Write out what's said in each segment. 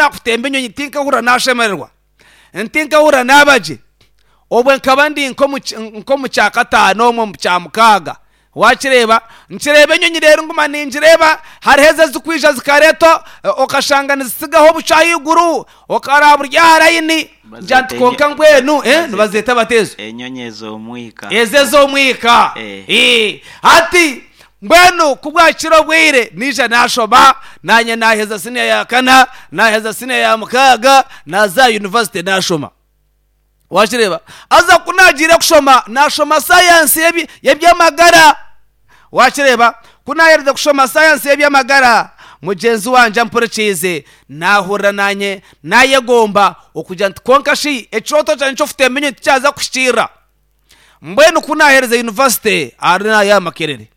naakutemba enyonyi tinkahurira naashemererwa, tinkahurira naaba gye. Obwe nkaba ndi nk'omu kyakataano omwo omu kyamukaaga. Waakireeba? Nkireeba enyonyi reero nguma ningireeba, hariho ezo ezirikwija zikareetwa okashanga nizitsigaho obucu ahaiguru, okaraaba buri aha rayini, ngira nti kwonka mbwenu nibazeeta bata ezo? Enyonyi ez'omwika. Ezo ez'omwika. Hati mbwenu ku bwakira obwire, naija naashoma, naanye naaheza siniya ya kana, naaheza siniya ya mukaaga, naaza aha yunivasite naashoma. Wakireeba? Haza ku naagiire kushoma, naashoma sayansi y'eby'amagara. Wakireeba? Ku naaherize kushoma sayansi y'eby'amagara, mugyenzi wangye ampurikiize, naahurira naanye naayegomba okugira nti kwonka shi ekirooto kyangye ky'okutemba enyonyi tikyaza kuhikiirira. Mbwenu ku naaherize yunivasite ahari aha Makerere,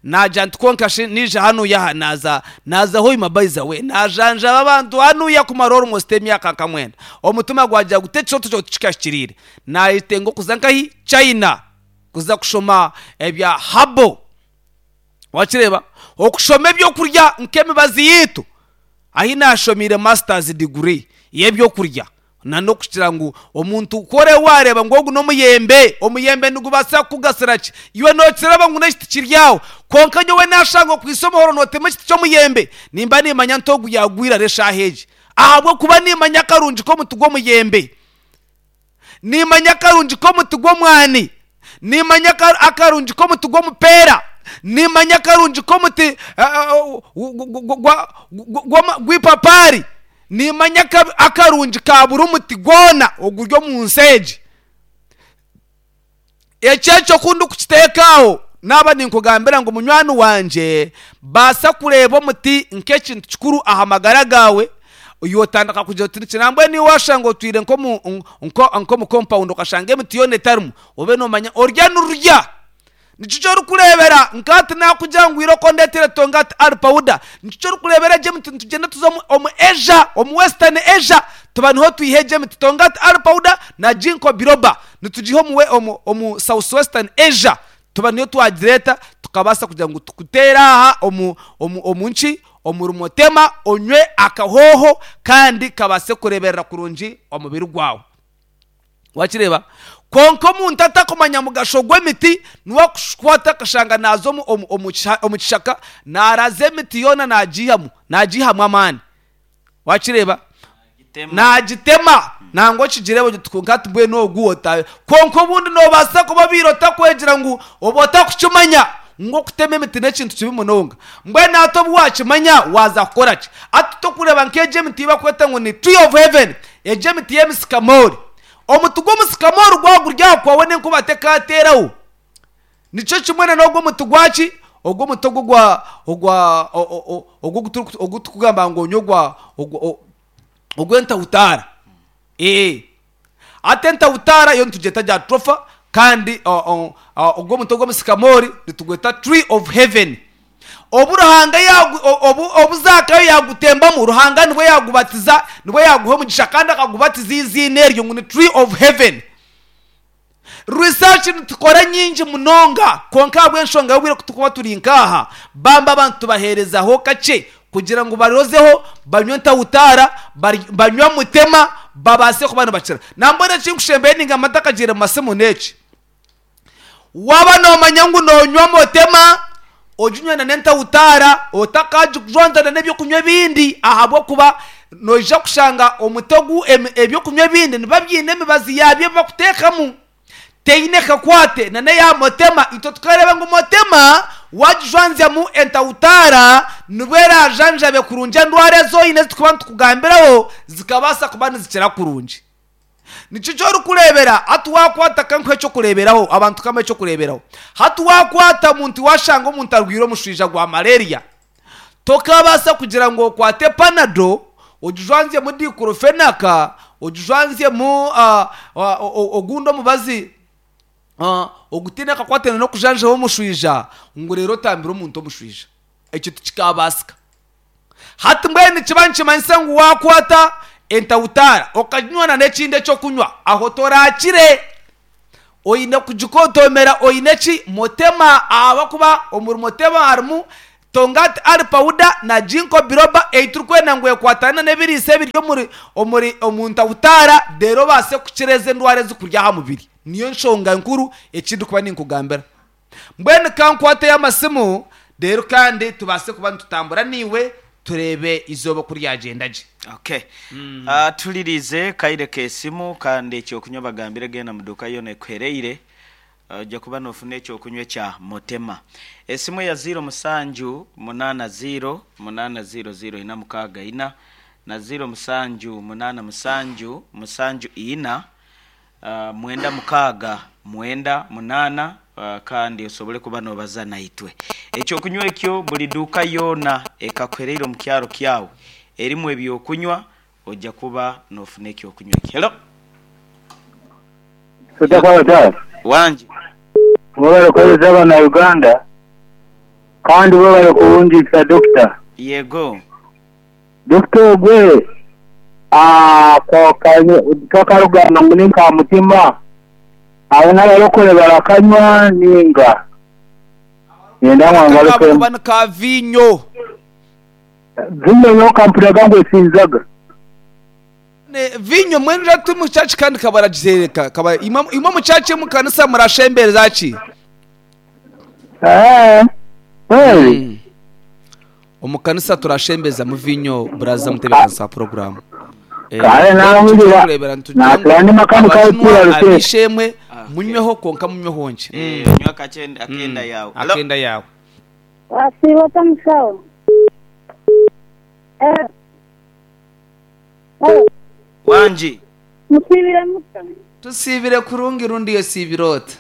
Naagira nti, Kwonka shi naija hanuya aha, naaza, naaza Hoima by the way, naajanjaba abantu hanuya kumara almost emyaka nka mwenda. Omutima gwagira guti ekirooto kyawe tikikahikiriire. Naayetenga okuza nkahi? China, kuza kushoma ebya herbal. Wakireeba? Okushoma ebyokurya nk'emibazi yaitu. Ahi naashomeire masters degree y'ebyokurya. Na n'okugira ngu omuntu ku orebe waareeba ngu ogu n'omuyembe, omuyembe nigubaasa kukugasira ki? Iwe nookireba ngu n'ekiti kiri aho, kwonka nyowe naashanga okwaitse omuhoro nootema ekiti ky'omuyembe, nimba nimmanya nti ogu yaagwire ari eshaaha egi. Ahabw'okuba nimmanya akarungi k'omuti gw'omuyembe. Nimmanya akarungi k'omuti gw'omwani. Nimmanya akarungi k'omuti gw'omupeera. Nimmanya akarungi k'omuti gw'eipapaari. Nimmanya akarungi ka buri muti gwona oguri omu nsi egi. Ekyo ekyo ku ndikukiteeka aho, naaba ninkugambira ngu munywani wangye, baasa kureeba omuti nk'ekintu kikuru aha magara gaawe, yotandika kugira oti niki nambwenu iwe washanga otwire nk'omu nk'omu compound okashanga emiti yoona etarimu, obe nomanya orya nirurya. Nikyo eki orikureebera nka hati naakugira ngu irooko ondeetere Tongat Ali Powder. Nikyo eki orikureebera egyo emiti nitugyenda tuza omu omu Asia, omu Western Asia, tuba niho twiha egyo emiti. Tongat Ali Powder na Ginkgo Biloba nitugiiha omu omu omu South Western Asia, tuba niyo twagireeta tukabaasa kugira ngu tukuteere aha omu omu omu nki omu rumotema onywe akahooho kandi kabaase kureeberera kurungi omubiri gwawe. Wakireeba? Kwonka omuntu atakumanya mugasho gw'emiti niwe akukwata akashanga naaza omu, omu, omu, omu kishaka naaraza emiti yoona naagiihamu, naagiihamu amaani. Wakireeba? Naagitema nangwa okigireeba oti kwonka hati mbwenu ogu ota. Kwonka obundi noobaasa kuba obaire otakwegira ngu oba otakukimanya ngu okutema emiti n'ekintu kibi munonga. Mbwenu hati obu waakimanya waaza kukora ki? Hati tokureeba nk'egi emiti ei barikweta ngu ni tree of heaven. Egyo emiti y'emisikamoori. Omuti gw'omusikamoori gwaba guri aha kwawe n'enkuba tekateeraho. Nikyo kimwe na n'ogwo omuti gwaki? Ogwo omuti ogwo ogwa ogwa ogwo ogu turikugamba ngu onywe ogwa ogw'entahutaara. Ee. Hati entahutaara yo nitugyeta jatropha kandi ogwo omuti ogw'omusikamoori nitugweta tree of heaven. Obu Ruhanga yaagu, obu, obu Zaakayo yaagutembamu, Ruhanga nibwo yaagubatiza, nibwo yaaguha omugisha kandi akagubatiza eiziina eryo ngu ni Tree of Heaven. Research nitukora nyingi munonga, kwonka ahabw'enshonga y'obwire ku turikuba turi nk'aha, bambi abantu tubaheerezaho kakye kugira ngu barozeho, banywe ntahutaara, banywe mutema, babaase kuba nibakira. Nambwenu ekinkushembayo ningamba ntakagiire mu masimu n'eki. Waaba noomanya ngu noonywa motema, oginywe na n'entahutaara, otakaagijwanzana n'eby'okunywa ebindi ahabw'okuba noija kushanga omuti ogu eby'okunywa ebindi nibiba biine emibazi yaabyo ebi barikuteekamu teine kakwate na n'eya motema. Itwe tukareeba ngu motema waagijwanzyamu entahutaara nibwo eraajanjabe kurungi endwara ezi oine ezi turikuba nitukugambiraho zikabaasa kuba nizikira kurungi. Nikyo eki orikureebera hati waakwata ka nkuhe eky'okureeberaho, abantu ka mbahe eky'okureeberaho. Hati waakwata omuntu waashanga omuntu arwaire omushwija gwa malaria, tokaabaasa kugira ngu okwate panado ogijwanzyemu diclofenac, ogijwanzyemu ogundi omubazi ogutaine akakwate n'okujanjaba omushwija ngu reero otambire omuntu omushwija. Ekyo tikikaabaasika. Hati mbwenu nikiba nikimanyisa ngu waakwata entahutaara okaginywa na n'ekindi eky'okunywa, aho toraakire. Oine kugikotomera oine ki? Motema, ahabw'okuba omuri motema harimu. Tongkat Ali powder na Ginkgo biloba ei turikwenda ngu ekwatane n'ebiriisa ebiri omuri omuri omu ntahutaara reero obaase kukira ezi endwara ezikurya aha mubiri. Niyo nshonga nkuru eki ndikuba ninkugambira. Mbwenu ka nkwateyo amasimu reero kandi tubaase kuba nitutambura naiwe tureebe eizooba oku ryagyenda gye. Okay. Tuhuririize kaire k'esimu kandi eky'okunywa bagambire genda mu duuka yoona ekuhereire. Oija kuba noofuna eky'okunywa ekya Motema. Esimu eya ziiro musanju munaana ziiro munaana ziiro ziiro ina mukaaga ina na ziiro musanju munaana musanju musanju ina mwenda mukaaga mwenda munaana kandi osobole kuba noobaza naitwe. Eky'okunywa ekyo buri duuka yoona ekakuhereire omu kyaro kyawe erimu eby'okunywa Oja kuba nofuna ekyokunywa eki. Hello. Soda Kwabataara, Wangi. Mwebale kuhereza abana Uganda kandi webale kurungiisa Dokita. Yego. Dokita ogwe twakarugamba ngu ninka mutima abo nabarokore barakanywa ninga nenda ngu angarukemu. Akakuba ni ka viinyo. Viinyo yonka mpuriraga ngu esinzaga. Viinyo mbwenu ira turi omu church kandi kabaragizereka kaba imwe imwe omu church omu kanisa murashembereza ki? Eeh kweli. Omu kanisa turashembezamu viinyo buraza mutebeekanisa wa puroguraamu. Kare nahurira Nitugira ngu ngu natura ndi makanika abakinwa w'ekiira Ruteete. ab'eishe-emwe munyweho kwonka munyweho nkye. Nywa akenda yaawe. Akenda yaawe. Wasiiba ota mushaho? Eh. Eh. Wangi. Musiibire muta? Tusiibire kurungi rundi osiibire ota?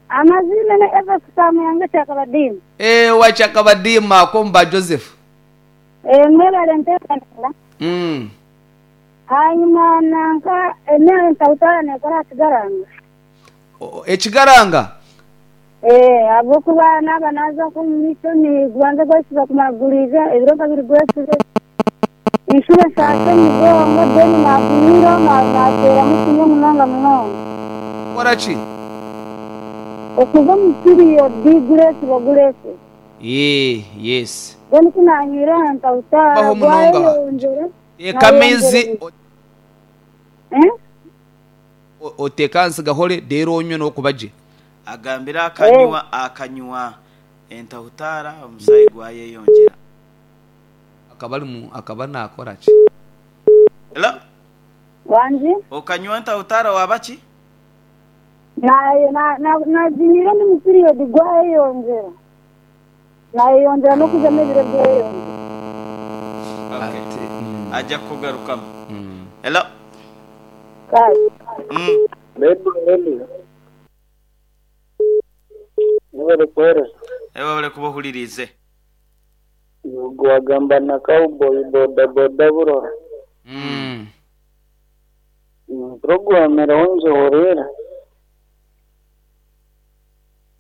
Amaziina ni Evans Kamuyanga Kyakabadiima. Eh, owa Kyakabadiima ak'omu ba Joseph. Eh, mwebale enteekanisa. Hanyuma nanka emere ntahutaara nekora aha kigaranga. Ekigaranga? Eeh ahabw'okuba naaba naaza nk'omu maisho nigubanza gwesiba kumara guriija ebiro nka biri gwesibe enshuro nshaasha omugongo then naagumiiraho naateeramu kimwe munonga munonga. Kukora ki? Okuza omu period gureesiba gureesiba. Eeh yes. Then ku naanywire aha ntahutaara Baho munonga. gwayeyongyera Teeka amaizi naayongyera. Eh? Oteeke ahansi gahore reero onywe n'okuba gye. Agambire akanywa akanywa entahutaara omusaayi gwayeyongyera. Akaba ari mu akaba naakora ki? Hello. Wangi? Okanywa entahutaara waaba ki? Naginywire ndi mu period gwayeyongyera. Nayeyongyera n'okuza n'ebiro byeyongyera. Okay. Aja kukugarukamu. Hello. Kale. Ready ready. Mwebale kuhereza. Webale kuba ohuririize. Ogwo wagamba na cowboy boda boda burora. Program eriho ngihureire.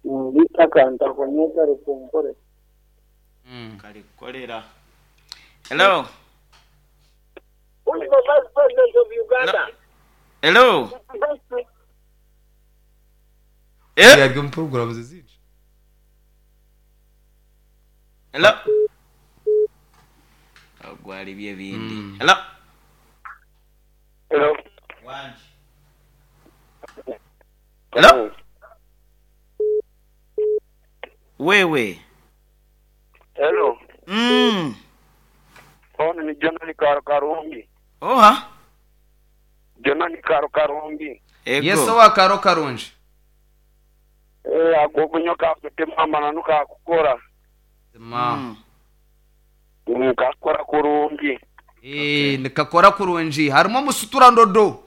Beitu akantu ako nyowe kari kunkorera. Kari kukorera. Hello. Who is the vice president of Uganda? Hello. Eh? Yari omu puroguramu ze zingi. Hello. Ogwo ari by'ebindi. Hello. Hello. Wangi. Hello. Wewe. Hello. Onu ni Jonani Karo Karungi. Oha. Jonani Karo Karungi. Ego. Yes owa Karo Karungi. Eh, ako kunywa kakutema amananu kakukora. Mazima. Kakukora kurungi. Eh, nikakora kurungi. Harimu omusutura ndodo.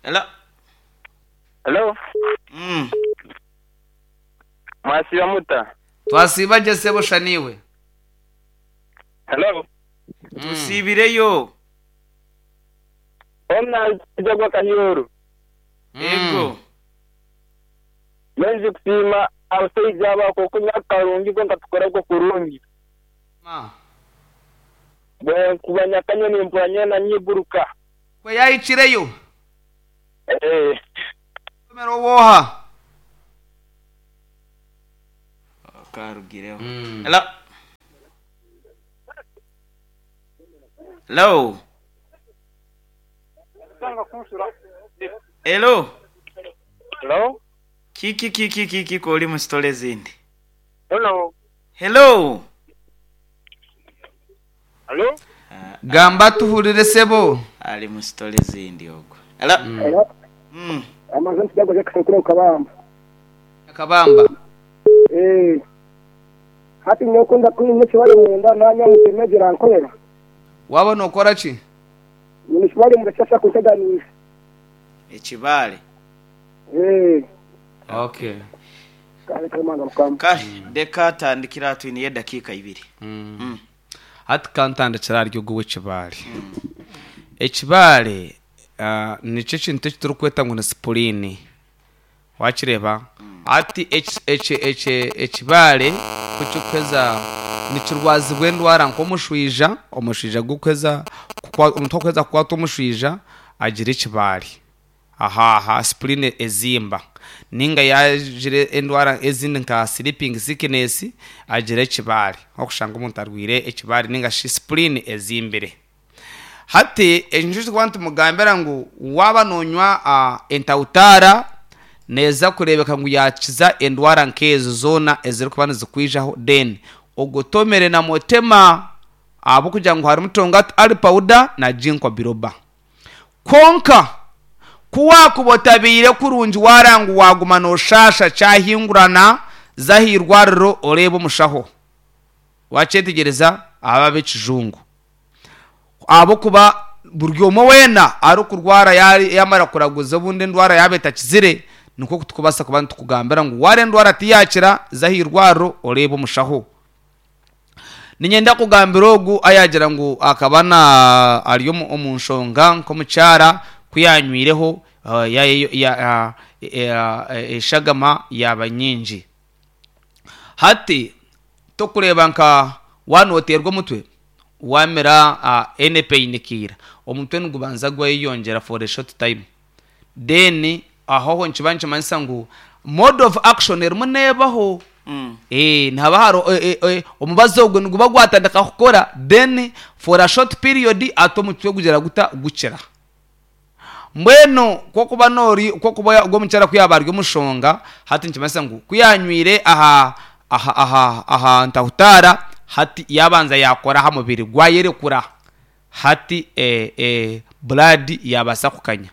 Hello. Hello. Mwasiiba muta? Twasiiba gye sebo sha naiwe. Hello. Tusiibireyo. Ona Jagwa Kahioru. Ego. Mbwenu kusiima abashaija aba ahabw'okunywa karungi kwonka tukora gwo kurungi. Ma. Mbwenu kuba nyakanywa nimpurira nyeena nyiguruka. Kwe yaahikireyo. Eeh. Omero w'oha? Karugireho. Hello. Hello. Hello. Hello? Kiki kiki kiki k'oli mu sitole ezindi? Hello? Hello. Hello? Gamba tuhurire sebo. Ali mu sitole ezindi ogwo. Hello. Hello? Amazima nti Jackson kuri Kabamba. Kabamba. Eh. Hati nyowe ndakunywa ekibare munda nanywa muteme girankorera. Waaba nookora ki? Nyine ekibare munda kyashaka kunteganiisa. Ekibare. Eh. Okay. Kale kale manga mukama. Kale ndeka atandikire aha twine edakiika ibiri. Hati kantandikire ahari ogu ow'ekibaare. Ekibaare ah, nikyo ekintu eki turikweta ngu ni sipuriini. Wakireeba? Hati eki- eki- eki- ekibaare ku kirikuheza nikirwazibwa endwara nk'omushwija, omushwija gukuheza kukwa- omuntu akuheza kukwatwa omushwija agira ekibaare. Aha aha sipuriini ezimba. Ninga yaagira endwara ezindi nka sleeping sickness agira ekibaare. Okushanga omuntu arwaire ekibaare ninga shi sipuriini ezimbire. Hati ekyo nikyo turikuba nitumugambira ngu waaba noonywa entawutaara neeza kureebeka ngu yaakiza endwara nk'ezo zoona ezirikuba nizikwijaho then ogotomere na motema ahabw'okugira ngu harimu tongati ali pawuda na ginkwa biroba. Kwonka ku waakuba otabaire kurungi waara ngu waaguma nooshaasha kyahingurana za aha irwariro oreebe omushaho. Waakyetegyereza? Aba ab'ekijungu. Ahabw'okuba buri omwe weena arikurwara yaamara kuraguza obundi endwara yaaba etakizire, nikwo turikubaasa kuba nitukugambira ngu waara endwara tiyaakira, za aha irwariro oreebe omushaho. Niinyenda kugambira ogu ayaagira ngu akaba na ari omu nshonga nk'omukyara ku yaanywireho eshagama yaaba nyingi. Hati torikureeba nka waaba nooteerwa omutwe, waamira any pain killer, omutwe nigubanza gweyongyera for a short time. Then aho aho nikiba nikimanyisa ngu mode of action erimu neebaho. Nihaba hariho omubazi ogwo niguba gwatandika kukora then for a short period ati omutwe gugira guta? Gukira. Mbwenu ku orikuba nori ku orikuba ogwo omukyara ku yaaba ari omushonga hati nikimanyisa ngu ku yaanywire aha aha aha aha ntahutaara hati yaabanza yaakora aha mubiri gwayerekura hati blood yaabaasa kukanya.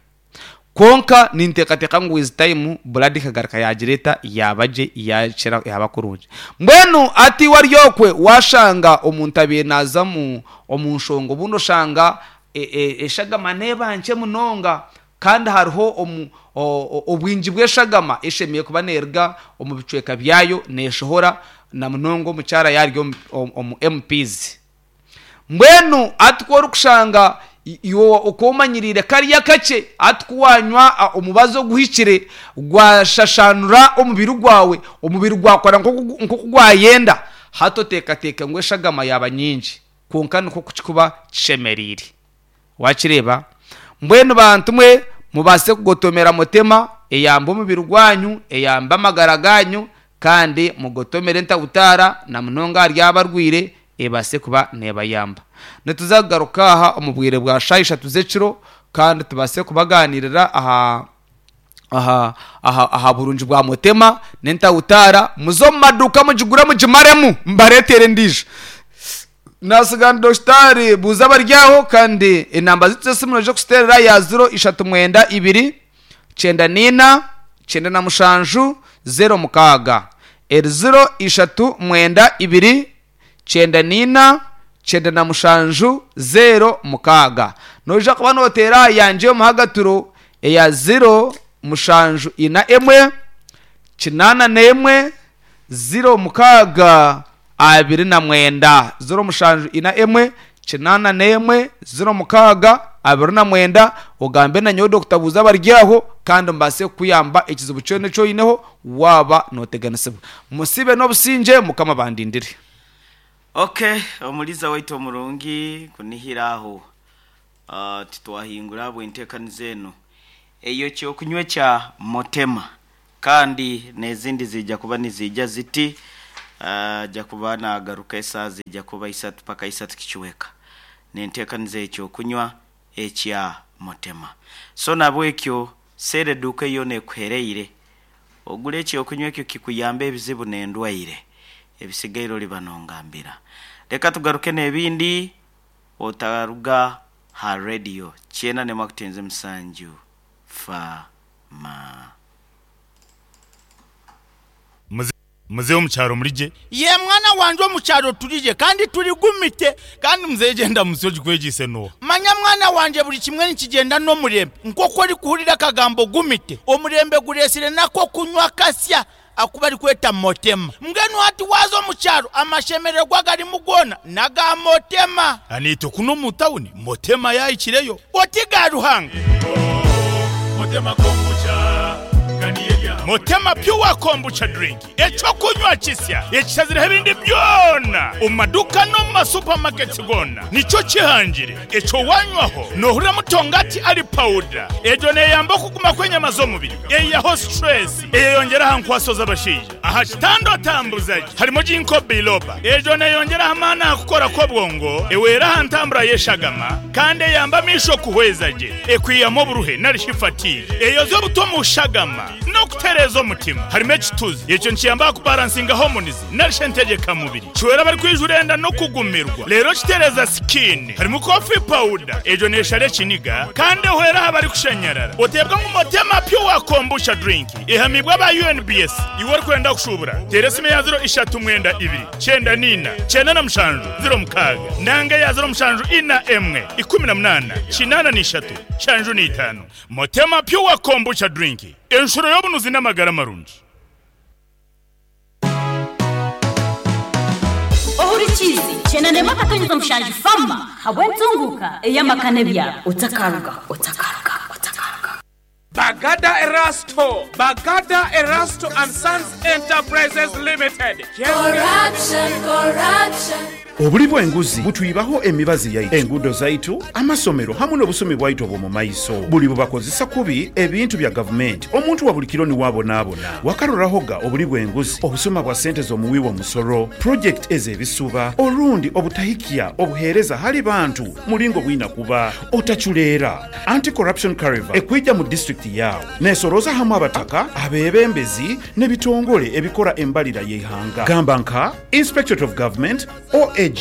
Kwonka ninteekateeka ngu with time blood ekagaruka yaagira eta yaaba gye yaakira yaaba kurungi. Mbwenu hati iwe ari okwe waashanga omuntu abaire naaza omu omu nshonga obundi oshanga eshagama neeba nkye munonga kandi hariho omu obwingi bw'eshagama eshemereire kuba neeruga omu bicweka byayo neeshohora na munonga omukyara yaaba ari omu MPs. Mbwenu hati ku orikushanga iwe okaba omanyiriire kariya kakye, hati ku waanywa omubazi oguhikire gwashashaanura omubiri gwawe, omubiri gwakora nk'oku gwayenda, hati oteekateeka ngu eshagama yaaba nyingi. Kwonka nikwo kirikuba kishemereire. Waakireeba? Mbwenu bantu mwe, mubaase kugotomera Mutema, eyambe omubiri gwanyu, eyambe amagara gaanyu, kandi mugotomere entabutaara, na munonga ahari abarwaire, ebaase kuba neebayamba. Nituza kugaruka aha omu bwire bwa shaaha ishatu z'ekiro, kandi tubaase kubagaaniirira aha aha aha aha burungi bwa Mutema n'entabutaara. Muze omu maduuka mugigure mugimaremu, mbareetere endiijo. Naatsiga ni Dokitaari Buuza Abaryaho kandi enamba zaitu z'esimu noija kuziteerera ya ziro ishatu mwenda ibiri kyenda naina kyenda na mushanju zero mukaaga. Eri ziro ishatu mwenda ibiri kyenda naina kyenda na mushanju zero mukaaga. Noija kuba nooteera aha yangye y'omuhagaturo eya ziro mushanju ina emwe kinaana n'emwe 06 29, 07 ina emwe, kinaana n'emwe, 06 29, ogambe na nyowe Dokita Buuza Abaryaho kandi mbaase kukuyamba ekizibu kyona eki oineho waaba nooteganisibwa. Musiibe n'obusingye, Mukama abandindire. Ok, omuliza waitu omurungi kunihira aho titwahingura ahabw'enteekaniza enu ey'ekyokunywa ekya Motema. Kandi n'ezindi ziija kuba niziija ziti. Aja kuba naagaruka esaaha ziija kuba isatu paka isatu kicweka nenteekaniza y'ekyokunywa ekya Mutema. So nabwekyo seera eduuka yoona ekuhereire ogule ekyokunywa ekyo kikuyambe ebizibu n'endwaire ebisigaire oliba nongambira. Leka tugaruke n'ebindi otaruga ha radio kyenda n'emakutenze musanju fa ma. Muzeeyi omu kyaro muri gye. Yee mwana wangye omu kyaro turi gye kandi turi gumite. Kandi muzeeyi gye ndamutsyo ogikwegyeise n'oha? Manya mwana wangye buri kimwe nikigyenda n'omurembe. Nk'oku orikuhurira akagambo gumite, omurembe gureetsire n'ak'okunywa akasya aku barikweta Motema. Mbwenu hati waaza omu kyaro amashemererwa agarimu goona n'aga Motema. Naitwe kunu omu tawuni Motema yaahikireyo. Oti ga Ruhanga. Motema Pure Kombucha Drink, eky'okunywa kisya ekishazireho ebindi byona omu maduuka n'omu ma supermarkets goona nikyo kihangire. Ekyo wanywaho nohurira mutongati ari pawuda. Egyo neyamba okuguma kw'enyama z'omubiri, eyihaho stress, eyeyongyera aha nkwaso z'abashaija. Aha kitanda otambuza gye harimu Ginkgo biloba. Egyo neyongyera aha maani aha kukora kw'obwongo, ehwera aha ntambura y'eshagama kandi eyamba amaisho kuhweza gye. Ekwihamu oburuhe nari shi fatigue. Eyoza obutwa omu shagama n'okutereeza omutima. Harimu ekituzi. Ekyo nikiyamba aha kubaransinga hormones nari shi entegyeka mubiri. Kihwera abarikwijura enda n'okugumirwa. Reero kitereeza skin. Harimu coffee powder. Egyo neeshara ekiniga kandi ehwera aha barikushanyarara. Oteebwa ngu Motema Pure Kombucha Drink ehamiibwe aba UNBS. Iwe orikwenda kushuubura, teera esimu eya ziro ishatu mwenda ibiri, kyenda n'ina, kyenda na mushanju, ziro mukaaga nanga eya ziro mushanju ina emwe, ikumi na munaana, kinaana na ishatu, nshanju na itaano. Motema Pure Kombucha Drink, enshuro y'obunuzi n'amagara marungi. Ohurikiize Kyenda Akatonyeza Mushanju Farmer habw'entunguuka ey'amaka n'ebyaro. Otakarugaho, otakarugaho, otakarugaho. Bagada Erasto, Bagada Erasto and Sons Enterprises Limited. Corruption, corruption. Obuli bw'enguzi butwibaho emibazi yaitu, enguudo zaitu, amasomero hamu n'obusumi bwaitu obw'omu maiso. Buli bubakozesa kubi ebintu bya gavumenti, omuntu wa buli kiro niwe abonaabona. Wakarorahoga obuli bw'enguzi, obusuma bwa sente z'omuwi w'omusoro, purojekiti ez'ebisuba, orundi obutahikya obuheereza hali bantu muringo bwina kuba? Otacureera. Anti-Corruption Caravan ekwija mu disiturikiti yaawe nesorooza hamu abataka, abeebembezi n'ebitongore ebikora embarira y'eihanga gamba nka Inspectorate of Government, OAG,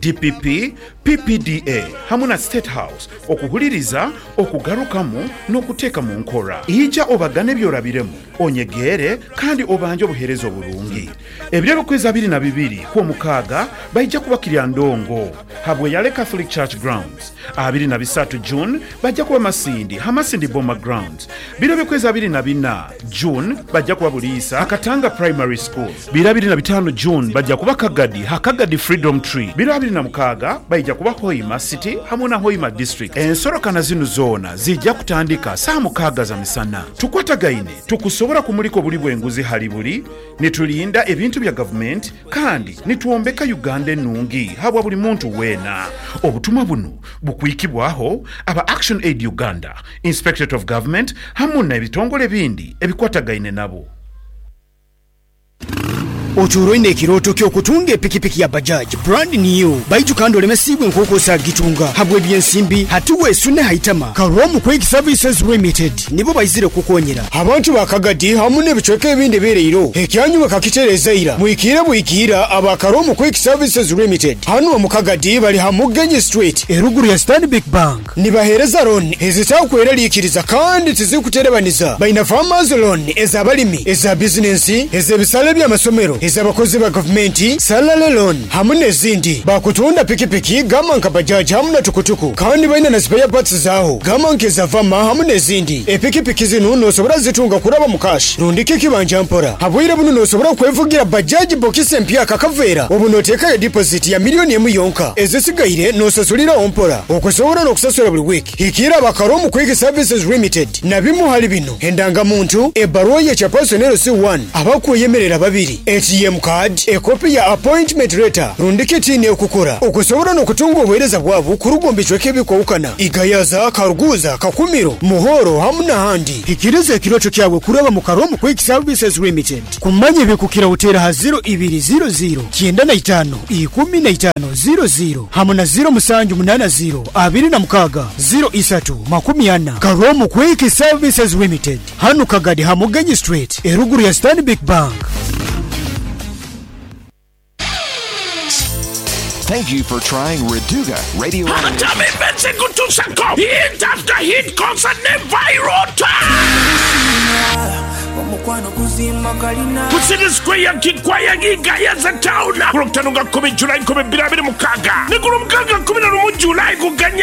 DPP, PPDA hamu na State House okuhuririza, okugarukamu n'okuteeka mu nkora. Ija obagane ebi orabiremu, onyegeere kandi obanje obuheereza oburungi. Ebiro eby'okwezi 22 Kwomukaaga baija kuba Kiryandongo ha Bweyale Catholic Church Grounds. 23 June baija kuba Masindi ha Masindi Boma Grounds. Biro eby'okwezi 24 June baija kuba Buliisa ha Katanga Primary School. Biro 25 June baija kuba Kagadi ha Kagadi Freedom Tree. Biro 26 baija kuba Hoima City hamu na Hoima District. Ensorokana zinu zoona ziija kutandika saaha mukaaga za misana. Tukwatagaine tukusobora kumulika obuli bw'enguzi hali buli, nitulinda ebintu bya gavumenti kandi nitwombeka Uganda enungi habwa buli muntu weena. Obutumwa bunu bukwikibwaho aba Action Aid Uganda, Inspectorate of Government hamu n'ebitongole ebindi ebikwatagaine nabo. Otuura oine ekirooto ky'okutunga epikipiki ya Bajaj brand new baitu kandi olemesiibwe nk'oku osaagitunga habw'ebyensimbi? Hati weesune ha itama. Karomu Quick Services Limited nibo baizire kukukonyera. Abantu ba Kagadi hamu n'ebicweka ebindi ebireire ekyanyu bakakitereeza ira. Mwikiire bwikiira aba Karomu Quick Services Limited hanu omu Kagadi bali ha Mugenyi Street eruguru ya Stanbic Bank. Nibaheereza looni ezitakweraliikiriza kandi tizirikuterebaniza. Baine Farmers Loan ez'abalimi, eza bizinensi, ez'ebisale by'amasomero, ez'abakozi ba gavumenti, Salary Loan hamu n'ezindi. Bakutunda pikipiki gamba nka Bajaj hamu na tukutuku kandi baine na spare parts zaaho gamba nk'eza Vama hamu n'ezindi. Epikipiki zinu nosobora zitunga kuraba mu cash rundi kikibanja mpora. Habwire bunu nosobora kwevugira Bajaj bokisi empyaka akaveera obu noteekayo deposit ya million emu yonka ezisigaire nosasuliraho mpora. Okusobola n'okusasula buli wiiki, hikiira aba Karomu Quick Services Limited na bimu hali bino, Endangamuntu, ebbaruwa ye kya Personnel C1, abakweyemerera babiri, eti. ATM card, ekopi ya appointment letter rundi kiti ekukora okusobora n'okutunga obuheereza bwabo kuruga omu bicweka ebikwahukana Igayaza, Karuguza, Kakumiro, Muhoro hamu n'ahandi. Hikiriza ekirooto kyawe kuraba mu Karomu Quick Services Limited. Kumanya ebikukiraho teera aha ziro ibiri ziro ziro, 95, 15, ziro ziro hamu na ziro musanju munaana ziro, 26, 03, 40. Karomu Quick Services Limited. Hanu Kagadi ha Mugenyi Street eruguru ya Stanbic Bank. Thank you for trying Reduga Radio Hamtime Events ekutusako hit after hit concert ne viral ku City Square Kikwaya Gigayaza Town ku lwokutaano nga 10 July 2026 ne ku lwomukaaga 11 July ku Ganya.